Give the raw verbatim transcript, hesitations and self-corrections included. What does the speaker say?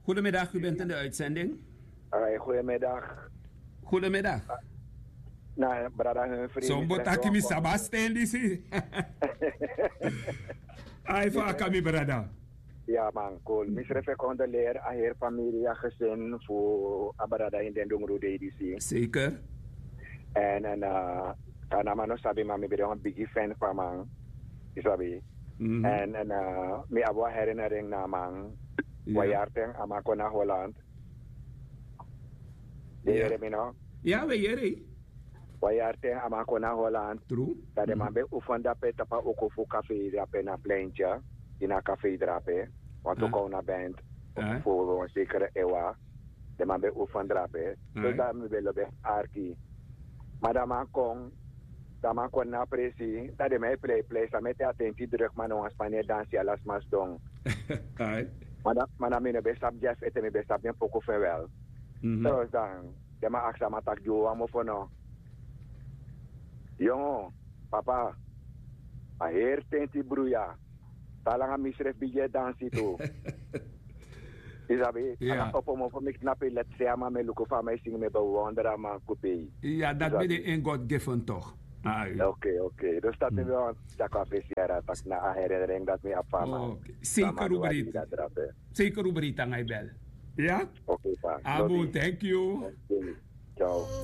Goedemiddag, u bent in de uitzending. Ai, goedemiddag. Goedemiddag. Na brada Humphrey, sombo taki mi sabi a sten disi. Ai, fa a kan, mi brada? Ya man, cool. Mi srefi e kondoleri a heri famiri, a gesin fu a brada ini den dungru dei disi. Zeker. En en, uh, kan a man no sabi, ma mi ben de wan bigi fan fu a man. Yu sabi. Mhm. En en, uh, mi abi wan herinnering na a man. Wan yari ten a man kon na Holland. Yu e yere mi no? Ya, we yere. Wan yari ten a man kon na Holland. True. Dan den man ben oefen drape tapu a oko fu kafei drape na Pleintje. Ini a kafei drape. Wantu kon na band fu wan sekere ewa. Den man ben oefen drape. Dus dan mi ben lobi arki. Ma dan man kon, dan man kon na presi, dan den man e plei plei, san meki a tenti druk, ma no wan sma no e dansi, ala sma sidon. Ma dan, ma dan mi no ben sabi dyaso ete, mi ben sabi den poku fu en wel. Dus dan den man aksi a man taki gi un wan mofo no. Yongo, papa, a heri tenti bruya. Te langa mi srefi bigin e dansi tu. Yu sabi, a na opo mofo, mi knapu, leti sei a man, mi e luku fa a man e singi, mi e bewonder a man kupei. Ya, dati ben de en God given toch. Ai. Oké, oké. Dus dati mi ben wani taki a fesi yara, taki na a herinnering dati mi abi fu a man. Oké. Zeker, u breiti. Zeker, u breiti nanga yu bel. Ya? Oké, pa. Abu, thank you. Oké. Ciao.